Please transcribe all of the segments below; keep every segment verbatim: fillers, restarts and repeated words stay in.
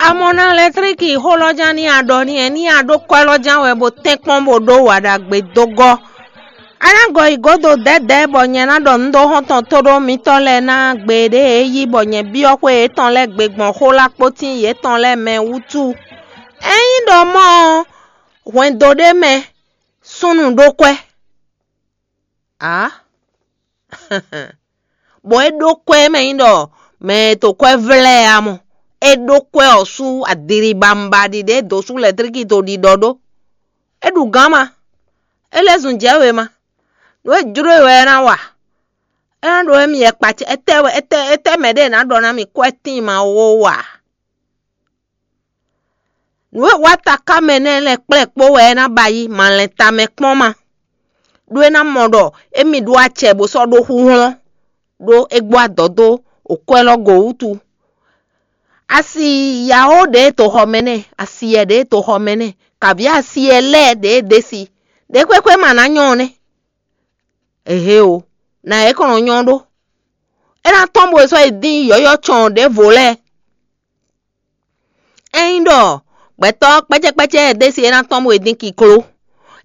A mɔ ná lɛtlíki xó lɔ ján ní a ɖɔ n'i wɛ ní a ɖó kwɛ́ lɔ ján wɛ bó tɛ́nkpɔ́n bó ɖó wa ɖagbe dó gɔ́. A ná gɔ yi gǒdo dɛ̌dɛ̌ bɔ nyɛ ná ɖɔ nǔ dó xɔ́ntɔn tóɖó mitɔ́ lɛ́ɛ ná gbe ɖě e yí bɔ nyɛ byɔ́ xwé yětɔn lɛ́ɛ gbe gbɔn xó lá kpótín yětɔn lɛ́ɛ mɛ wútu. Ényí ɖɔ mɔ̌ ɔ́, hwɛndo ɖé mɛ súnnu ɖó kwɛ́. Ǎ! Bɔ é ɖó kwɛ́ mɛ nyí ɖɔ mɛ e to kwɛ́ vlɛ́ ɛ a mɔ. É ɖó kwɛ́ ɔ́ sú adilibamba ɖiɖe e dǒ sú lɛ̌tlíki to ɖiɖɔ ɖó. É ɖu gǎn ma. É lɛ́ zun jɛ̌ wěma. Nǔ e jló e wɛ é ná wa. É ná ɖo émí yɛkpa ce étɛ́ wɛ étɛ́ étɛ́ mɛ ɖé e nǎ ɖɔ ná mì kwɛ́ tíin ma ó wa. Nǔ e wá taká mɛ nɛ́ lɛ́ɛ kplɛ́ kpó wɛ é ná ba yi malɛn tamɛ kpɔ́n ma. Ɖó é ná mɔ ɖɔ émí ɖó acɛ bó sɔ́ ɖó xúhlɔ́n, ɖó é gbɔ adɔ̌ dó okwɛ́ lɔ go wútu. Asi yǎó ɖě e to xɔ mɛ nɛ́, asiyɛ ɖě e to xɔ mɛ nɛ́, kavǐ asiyɛ lɛ́ɛ ɖě e ɖe si, ɖě xwéxwé ma ná nyɔ́ ɔ́ nɛ́. Ehe o, nǎ é kɔn nɔ nyɔ́ ɖó. É ná tɔ́n bo e sɔ́ yi dín yɔ̌yɔ́ cɔn ɖěvo lɛ́ɛ. Ényí ɖɔ gbɛtɔ́ kpɛ́cɛ́kpɛ́cɛ́ e ɖe si é ná tɔ́n bo e dín kikló,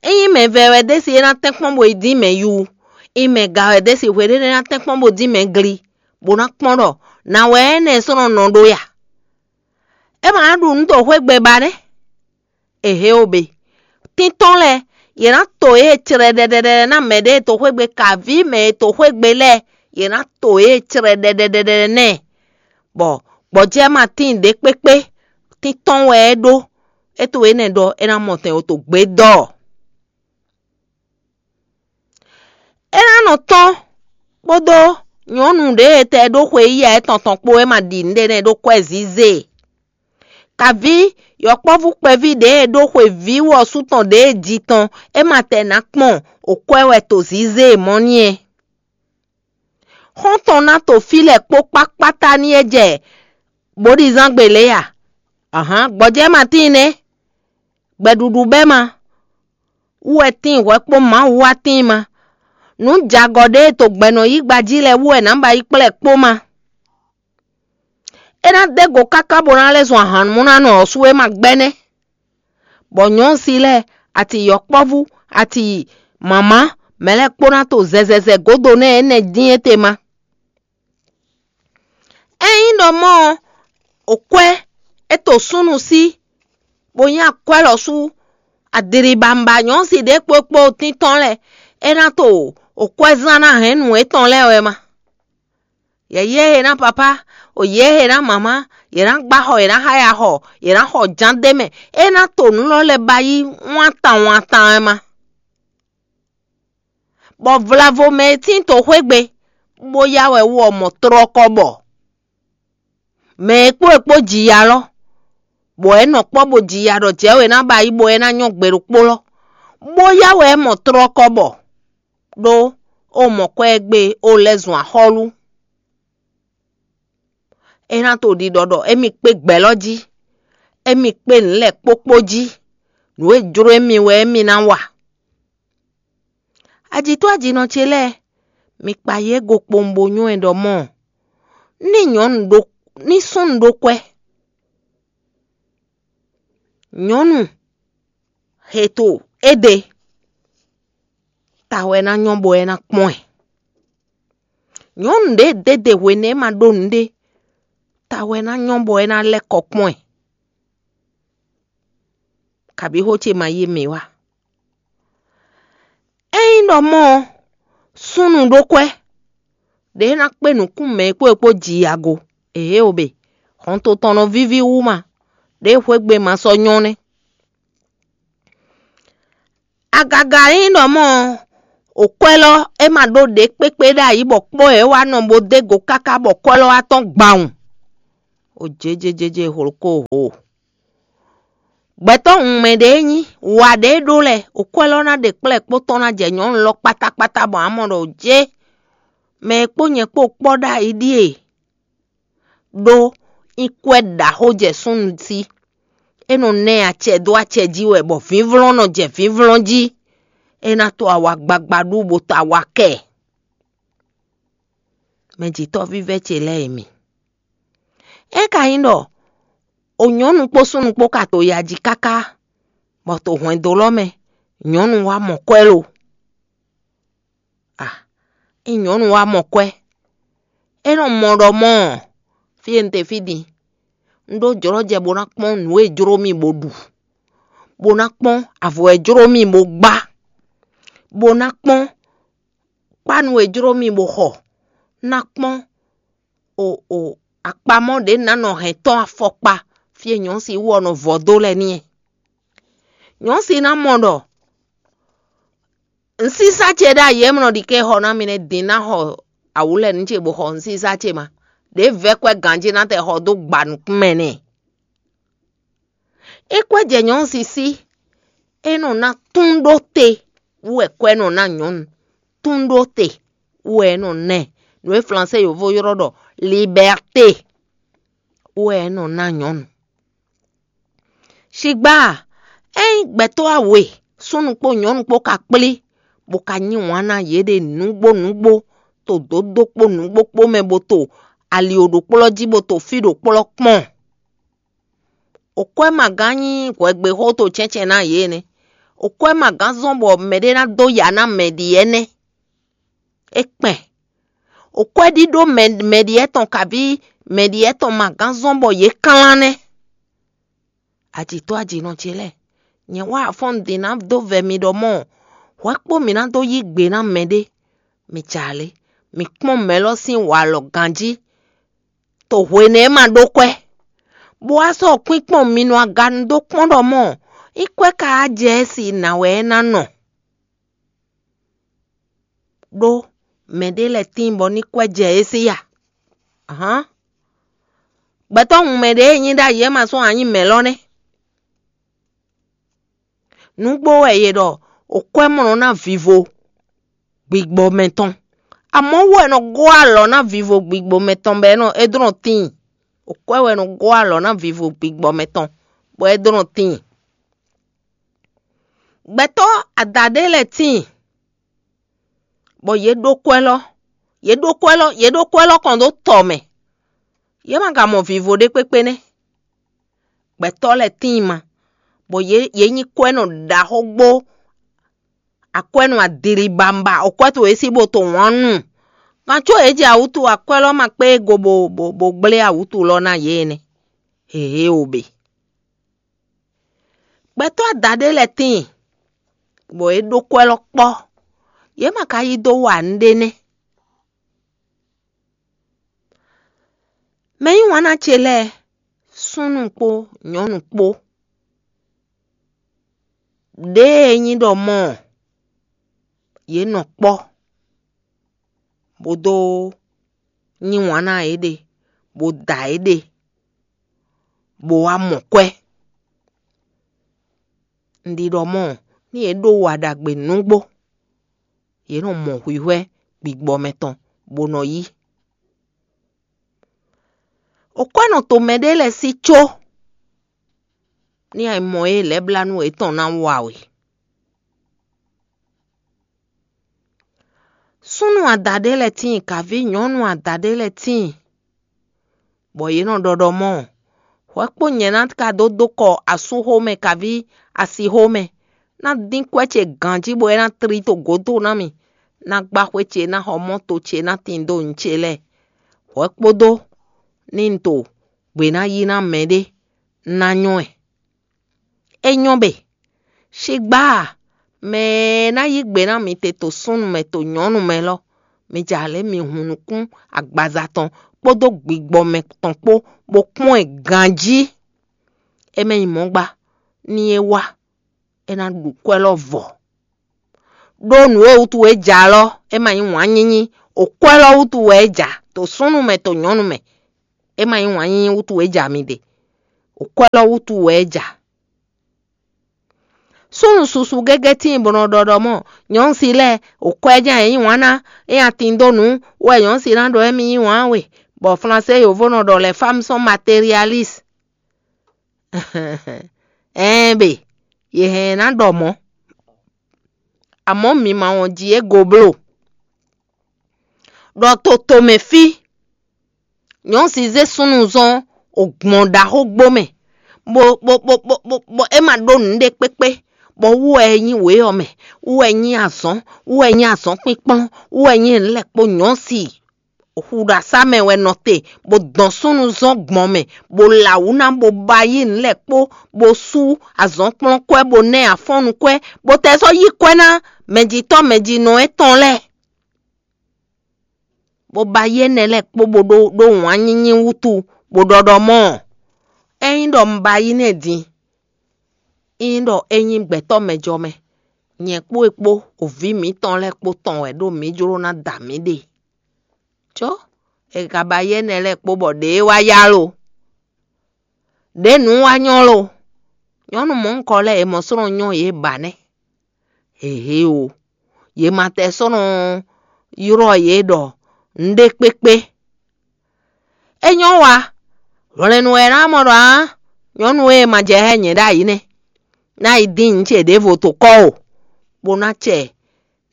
ényí mɛ vɛ́ wɛ ɖe si é ná tɛ́nkpɔ́n bo e dín mɛ yu, ényí mɛ ga wɛ ɖe si hweɖénu é ná tɛ́nkpɔ́n bo dín mɛ gli, bó ná kpɔ́n ɖɔ nǎ wɛ énɛ́ sɔ́ nɔ nɔ ɖó ya. É ma ná ɖu nǔ to xwé gbe ba nɛ́. Ehe o be. Tíntɔ́n lɛ́ɛ, yě ná to yě cɛɖɛɖɛɖɛɖɛ ná mɛ ɖě e to xwé gbe, kaví mɛ e to xwé gbe lɛ́ɛ, yě ná to yě cɛɖɛɖɛɖɛɖɛ nɛ́. Bɔ gbɔjɛ́ ma tíin ɖě kpékpé, tíntɔ́n wɛ é ɖó. É to énɛ́ ɖɔ é ná mɔ tɛn o to gbědɔ́. É ná nɔ tɔ́n kpódó nyɔ̌nu ɖě e tɛ ɖó xwe yíyá étɔn tɔn kpó é ma ɖi nǔɖé nɛ́ ɖó kwɛ́ zǐzé. Kaví yɔkpɔ́vú kpɛví ɖě e ɖó xwe vǐ wɔsú tɔn ɖě e ji tɔn é ma tɛ nǎ kpɔn okwɛ́ wɛ to zǐzé e mɔ̌ n'i é. Xɔ́ntɔn ná to fí lɛ́ɛ kpó kpákpátá n'i é jɛ bǒɖizángbe lě a? Ahǎn, gbɔjɛ́ ma tíin nɛ́. Gbɛɖuɖu bɛ́ ma wú wɛ tíin hwɛ kpó Mawu wá tíin ma. Nǔ jagɔ ɖé e to gbɛ̌nɔyígba jí lɛ́ɛ wú wɛ nǎ ba yi kplɛ́ kpó ma. É ná dó go káká bó ná lɛ́ zɔn ahannumúnánɔ ɔ́ sú é ma gbɛ́ nɛ́. Bɔ nyɔ̌nu si lɛ́ɛ, ati yɔkpɔ́vú, ati mǎmá, mɛ lɛ́ɛ kpó ná to zɛzɛzɛ gǒdo nɛ́ énɛ́ dín étɛ́ ma. Ényí ɖɔ mɔ̌ ɔ́, okwɛ́ é to súnnu sí, bó nyí akwɛ́ lɔ sú adilibamba nyɔ̌nu si ɖě kpó kpó tíntɔ́n lɛ́ɛ, é ná to okwɛ́zán ná hɛn nǔ étɔn lɛ́ɛ wɛ ma. Yě yé he ná papá, o yě he ná mǎmá, yě ná gbá xɔ, yě ná xáya xɔ, yě ná xɔ jǎn d'é mɛ. É ná to nǔ lɔ lɛ́ɛ ba yí wántan wántan wɛ ma. Bɔ vlavo mɛ e tín to xwé gbe, bó yá wɛ wú ɔ́ mɔ tlɔ́kɔ bɔ. Mɛ e kpó e kpó ji ya lɔ, bɔ é nɔ kpɔ́ bó ji ya ɖɔ jɛ̌ wě ná ba yí bɔ é ná nyɔ́ gbe ɖokpó lɔ, bó yá wɛ é mɔ tlɔ́kɔ bɔ. Ɖó ó mɔ kwɛ́ e gbe ó lɛ́ zun axɔ́lú. É ná to ɖiɖɔ ɖɔ émí kpé gbɛ̌ lɔ jí, émí kpé nǔ lɛ́ɛ kpókpó jí, nǔ e jló émí wɛ émí ná wa. Ajǐtɔ́ ajǐnɔ ce lɛ́ɛ, mi kpa yě go kpowun bo nywɛ́ ɖɔ mɔ̌, ní nyɔ̌nu ɖó ní súnnu ɖó kwɛ́. Nyɔ̌nu heto éɖe ta wɛ ná nyɔ́ bɔ é ná kpɔ́n ɛ. Nyɔ̌nu ɖě ɖěɖe hwenu e é ma ɖó nǔɖé ta wɛ ná nyɔ́ bɔ é ná lɛ́ kɔ kpɔ́n ɛ. Kabǐ xó ce ma yí mǐ wá. Ényí ɖɔ mɔ̌ ɔ́, súnnu ɖó kwɛ́, ɖě ná kpé nǔkún mɛ e kpó e kpó ji ago. Ehe o be, hɔnto tɔn nɔ víví wú ma, ɖěe xwé gbe ma sɔ́ nyɔ́ nɛ́. Agaga nyí ɖɔ mɔ̌ ɔ́, okwɛ́ lɔ é ma ɖó ɖě kpékpé ɖ'ayǐ bɔ kpɔ́ e é wá nɔ bó dó go káká bɔ kwɛ́ lɔ wá tɔ́n gbawun. O jéjéjéjé hlokó ho. Gbɛtɔ́ wunmɛ ɖě nyí wa ɖě ɖó lɛ́ɛ, okwɛ́ lɔ ná ɖe kplɛ́ kpó tɔn ná jɛ nyɔ̌nu lɔ kpátákpátá bɔ a mɔ ɖɔ jé, mɛ e kpó nyɛ kpó kpɔ́ ɖ'ayǐ ɖíe. Ɖó nyí kwɛ́ ɖaxó jɛ súnnu sí. É nɔ ná ɛ acɛ dó acɛ jí wɛ bɔ vǐvlɔ́n nɔ jɛ vǐvlɔ́n jí. É ná to awa gbagba ɖu bó to awa kɛ. Mɛjitɔ́ vívɛ́ ce lɛ́ɛ e mi. É ka nyí ɖɔ O nyɔ̌nu kpó súnnu kpó ka to ya jí káká, bɔ to hwɛndo lɔ́ mɛ nyɔ̌nu wá mɔ kwɛ́ lo. A, ényí nyɔ̌nu wá mɔ kwɛ́, é nɔ mɔ ɖɔ mɔ̌ ɔ́, fí e un te fí din, un ɖó jlɔ́jɛ bó ná kpɔ́n nǔ e jló mì bó ɖu, bó ná kpɔ́n avɔ e jló mì bó gbá, bó ná kpɔ́n kpánu e jló mì bó xɔ, ná kpɔ́n o o akpamɔ ɖě ná nɔ hɛn tɔ́n afɔkpa fí e nyɔ̌si wú ɔ́ nɔ vɔ dó lɛ́ɛ n'i. Nyɔ̌si ná mɔ ɖɔ un sísá ce ɖ'ayǐ e mlɔ ɖi ké xɔ ná mi nɛ́ din ná xɔ awǔ lɛ́ɛ nú ce bó xɔ un sísá ce ma. Ɖě vɛ́ kwɛ́ ganjí ná tɛ xɔ dó gba nukún mɛ n'i. É kwɛ́ jɛ nyɔ̌nu sísí, é nɔ ná tún ɖó te wú wɛ kwɛ́ nɔ ná nyɔ̌nu. Tún ɖó te wú wɛ é nɔ ná ɛ. Nǔ e Flansée yovo ylɔ́ ɖɔ liberté wú wɛ é nɔ ná nyɔ̌nu. Shigbá, ényí gbɛtɔ́ awe, súnnu kpó nyɔ̌nu kpó ka kplí, bó ka nyí wǎn ná yěɖée nǔgbó nǔgbó, to dǒdó kpó nǔgbó kpó mɛ bó to ali ɖokplɔ́ jí bó to fí ɖokplɔ́ kpɔ́n. Okwɛ́ ma gán nyí hwɛgbexó to cɛ́ncɛ́n ná yě nɛ́. Okwɛ́ ma gán zɔ́n bɔ mɛɖé ná dó ya ná mɛ ɖi ɛnɛ́. É kpɛn. Okwɛ́ ɖíɖó mɛ mɛ ɖi ɛtɔn kabí mɛ ɖi ɛtɔn ma gán zɔ́n bɔ yě klán nɛ́. Ajǐtɔ́ ajǐnɔ ce lɛ́ɛ, nyɛ wá afɔ́n un din ná dó vɛ mi ɖɔ mɔ̌, hwɛ kpó mǐ ná dó yí gbe ná mɛɖé. Mi jɛ alě, mi kpɔ́n mɛ lɔ sín walɔ ganjí, to hwenɛ́ ma ɖó kwɛ́, bó wá sɔ́ kwín kpɔ́n mi nɔ aga nu dó kpɔ́n ɖɔ mɔ̌, nyí kwɛ́ ka wá jɛ ɛ si nǎ wɛ é ná nɔ. Ɖó mɛɖé lɛ́ɛ tíin bɔ ní kwɛ́ jɛ é sí a? Ahán. Gbɛtɔ́ hun mɛ ɖě e nyí ɖ'ayǐ é ma sɔ́ ǎ nyí mɛ̌ lɔ nɛ́. Nǔgbó wɛ è ɖɔ okwɛ́mlɔ ná vivo gbigbɔ mɛtɔn. Amɔ̌ wú wɛ è nɔ gɔ́ alɔ ná vivo gbigbɔ mɛtɔn bɔ é nɔ é dlɔ́n tíin. Okwɛ́ wɛ è nɔ gɔ́ alɔ ná vivo gbigbɔ mɛtɔn bɔ é dlɔ́n tíin. Gbɛtɔ́ adaɖé lɛ́ɛ tíin, bɔ yě ɖó kwɛ́ lɔ, yě ɖó kwɛ́ lɔ, yě ɖó kwɛ́ lɔ kɔn dó tɔ mɛ. Yě ma ka mɔ vivo ɖé kpékpé nɛ́. Gbɛtɔ́ lɛ́ɛ tíin ma, bɔ yě yě nyí kwɛ́nɔ ɖaxó gbó, akwɛ́nɔ adilibamba, okwɛ́ towe sí bó to wǎn nu. Kan có yě jɛ awǔtu akwɛ́ lɔ ma kpé go bó bó bó gblé awǔtu lɔ ná yě nɛ́. Hehe o be. Gbɛtɔ́ adaɖé lɛ́ɛ tíin, bɔ é ɖó kwɛ́ lɔ kpɔ́. Yě ma ka yí dó wa nǔɖé nɛ́. Mɛ yí wǎn ná ce lɛ́ɛ, súnnu kpó nyɔ̌nu kpó, ɖěe nyí ɖɔ mɔ̌ ɔ́, yě nɔ kpɔ́, bó dó yí wǎn ná yěɖée, bó da yěɖée, bó wá mɔ kwɛ́. Un ɖi ɖɔ mɔ̌, nú yě ɖó wa ɖagbe nǔgbó, yě nɔ mɔ hwǐhwɛ́ gbigbɔ mɛtɔn, bó nɔ yí. Okwɛ́ nɔ to mɛɖé lɛ́ɛ sí có, ní ayǐ mɔ e lɛ̌blánú yětɔn ná wa we. Súnnu adaɖé lɛ́ɛ tíin, kaví nyɔ̌nu adaɖé lɛ́ɛ tíin, bɔ yě nɔ ɖɔ ɖɔ mɔ̌, hwɛ kpó nyɛ ná ka dó dó kɔ asúxomɛ kaví asixomɛ, ná dín kwɛ́ ce ganjí bɔ é ná tlí to gǒdo ná mì, ná gbá xwé ce, ná xɔ mɔ́to ce, ná tin dó nǔ ce lɛ́ɛ, hwɛ kpódó ní un to gbě ná yí ná mɛɖé ná nyɔ́ ɛ. É nyɔ́ be, Shigbá a, mɛ e ná yí gbe ná mi te to súnnu mɛ to nyɔ̌nu mɛ lɔ, mi jɛ alě mi hun nukún agbaza tɔn kpódó gbigbɔ mɛ tɔn kpó, bó kpɔ́n ɛ ganjí. É mɛ nyí mɔ̌ gba, ní é wá, é ná ɖu kwɛ́ lɔ vɔ. Ɖó nǔ e wútu é ja lɔ, é ma nyí wǎn nyínyí, okwɛ́ lɔ wútu wɛ é ja, to súnnu mɛ to nyɔ̌nu mɛ, é ma nyí wǎn nyínyí wútu é ja mi ɖe, okwɛ́ lɔ wútu wɛ é ja. Súnnu susu gégé tíin bó nɔ ɖɔ ɖɔ mɔ̌, nyɔ̌nu si lɛ́ɛ, okwɛ́ jɛ́n yě yí wǎn ná, é nya tin dó nǔ wɛ nyɔ̌nu si ná ɖɔ émí yí wǎn we, bɔ Flansée yovo nɔ ɖɔ les femmes sont matérialistes. Ɛɛn be, yě hɛn ná ɖɔ mɔ̌. Amɔ̌ mi ma wɔn ji é go bló. Ɖɔ to tomɛ fí, nyɔ̌nu si zé súnnu zɔ́n ogbɔn ɖaxó gbó mɛ, bó bó bó bó bó bó é ma ɖó nǔɖé kpékpé, bɔ wú wɛ é nyí wě ɔ́ mɛ, wú wɛ é nyí azɔ̌n, wú wɛ é nyí azɔ̌nkpínkplɔ́n, wú wɛ é nyí nǔ lɛ́ɛ kpó nyɔ̌si. Xu ɖo asá mɛ wɛ nɔ te, bó dɔn súnnu zɔn gbɔn mɛ, bó la wǔ ná, bó ba yí nǔ lɛ́ɛ kpó, bó sú azɔ̌nkplɔ́nkwɛ́, bó nɛ́ afɔ́nnukwɛ́, bó tɛ sɔ́ yí kwɛ́ ná mɛjitɔ́ mɛjinɔ étɔn lɛ́ɛ, bó ba yí énɛ́ lɛ́ɛ kpó, bó ɖó ɖó wǎn nyínyí wútu, bó ɖɔ ɖɔ mɔ̌, ényí ɖɔ un ba yí nɛ́ din, ényí ɖɔ é nyí gbɛtɔ́ mɛjɔ mɛ, nyɛ kpó é kpó, o vǐ mǐtɔn lɛ́ɛ kpó tɔn wɛ ɖó mǐ jló ná da mǐ ɖe. Có è ka ba yí énɛ́ lɛ́ɛ kpó bɔ ɖě wá yá lo, ɖě nǔ wá nyɔ́ lo. Nyɔ̌nu mɔ̌hunkɔ lɛ́ɛ è mɔ slɔ́n nyɔ́ yě ba nɛ́. Hehe o, yě ma tɛ slɔ́n ylɔ́ yě ɖɔ nǔɖé kpékpé. É nyɔ́ wa, hwlɛ̌nnu wɛ ná mɔ ɖɔ ǎ, nyɔ̌nu e ma jɛ hɛn nyɛ ɖ'ayǐ nɛ́, ná yi dín nǔ ce ɖěvo to kɔ́ o, bó ná cɛ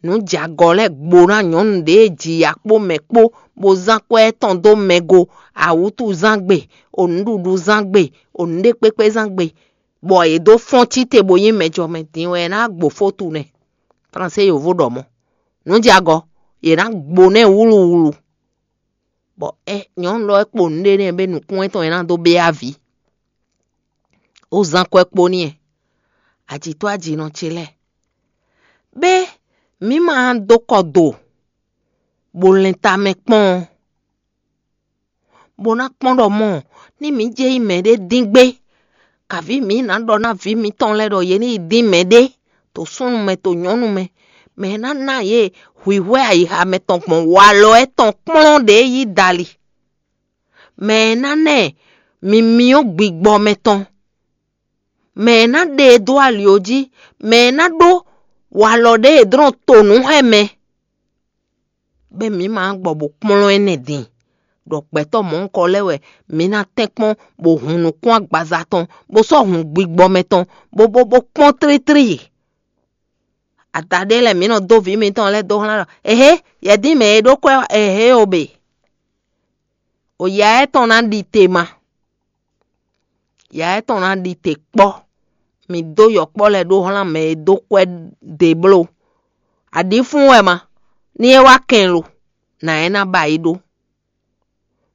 nǔ jɛ agɔ lɛ́ɛ gbo ná nyɔ̌nu ɖě e ji ya kpó mɛ kpó, bó zán kwɛ́ tɔn dó mɛ go, awǔtuzán gbe, o nǔɖuɖu zán gbe, o nǔɖé kpékpé zán gbe, bɔ yě dó fɔ́n cíte bó nyí mɛjɔmɛ. Din wɛ é ná gbo fó tunɛ. Flansé yovo ɖɔ mɔ̌. Nǔ jɛ agɔ, yě ná gbo nɛ́ wúluwulu. Bɔ é nyɔ̌nu lɔ é kpo nǔɖé nɛ́ bɛ nǔkún étɔn e ná dó bɛ́ avǐ. Ó zán kwɛ́ kpó n'i, ajǐtɔ́ ajǐnɔ ce lɛ́ɛ. Bɛ́ mǐ ma dó kɔ do, bó lɛn tamɛ kpɔ́n ɔ́, bó ná kpɔ́n ɖɔ mɔ̌, ní mǐ jɛ nyí mɛɖé dín gbé, kaví mǐ ná ɖɔ ná vǐ mitɔn lɛ́ɛ ɖɔ yě ní yi dín mɛɖé, to súnnu mɛ, to nyɔ̌nu mɛ, mɛ e ná ná yě hwǐhwɛ́ ayixa mɛ tɔn gbɔn walɔ étɔn kplɔ́n ɖě yí dali, mɛ e ná ná ɛ mimyɔ́ gbigbɔ mɛ tɔn, mɛ e ná ɖe e dó ali ɔ́ jí, mɛ e ná ɖó walɔ ɖě e dlɔ́n to nǔ xá ɛ mɛ. Bɛ́ mǐ ma gbɔ bó kplɔ́n énɛ́ din, ɖɔ gbɛtɔ́ mɔ̌hunkɔ lɛ́ɛ wɛ mǐ ná tɛ́nkpɔ́n bó hun nǔkún agbaza tɔn, bó sɔ́ hun gbigbɔ mɛ tɔn, bó bó bó kpɔ́n tlítlí. Ada ɖé lɛ́ɛ mǐ nɔ dó vǐ mitɔn lɛ́ɛ dó xlán ɖɔ: Ehe, yɛ̌dín mɛ e ɖó kwɛ́ ehe o be. O ya étɔn ná ɖi te ma. Ya étɔn ná ɖi te kpɔ́. Mǐ dó yɔkpɔ́ lɛ́ɛ ɖó xlán mɛ e dó kwɛ́ ɖě bló. Aɖǐfún wɛ ma, ní é wá kɛn lo, nǎ é ná ba yi ɖó.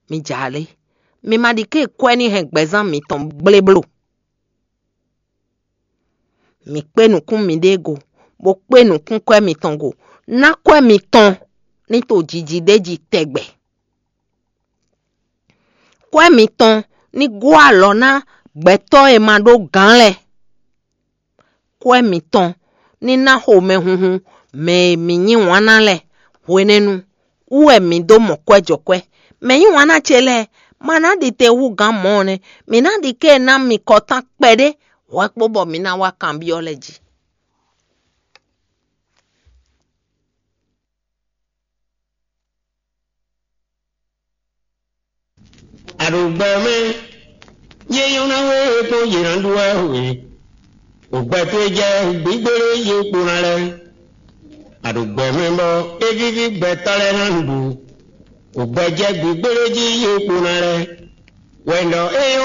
Mi jǎ lé, mi ma ɖi ké kwɛ́ ní hɛn gbɛzán mitɔn gblé bló. Mǐ kpé nǔkún miɖée go, bó kpé nǔkún kwɛ́ mitɔn go. Ná kwɛ́ mitɔn ní to jiji ɖé jí tɛgbɛ. Kwɛ́ mitɔn ní gɔ́ alɔ ná gbɛtɔ́ e ma ɖó gǎn lɛ́ɛ. Kwɛ́ mitɔn ní ná xomɛhunhun mɛ e mi yí wǎn ná lɛ́ɛ. Hwenɛ́nu wú wɛ mi dó mɔ kwɛ́ jɔ kwɛ́. Mɛ yí wǎn ná ce lɛ́ɛ ma ná ɖi te hú gǎn mɔ̌ ɔ́ nɛ́. Mǐ ná ɖi ké ná mi kɔtán kpɛɖé hwɛ̌ kpó bɔ mi ná wá kanbyɔ́ lɛ́ɛ jí. Aɖogbɛmɛ, yé nyɔ́ ná we kpɔ́n yě ná ɖu wɛ we. Ògbɛ towe jɛ gbígbélé yě kpo ná lɛ́ɛ. Aɖogbɛmɛ bɔ é víví gbɛtɔ́ lɛ́ɛ ná ɖu. Ògbɛ jɛ gbígbélé jí yě kpo ná lɛ́ɛ. Wɛ ɖɔ é nyɔ́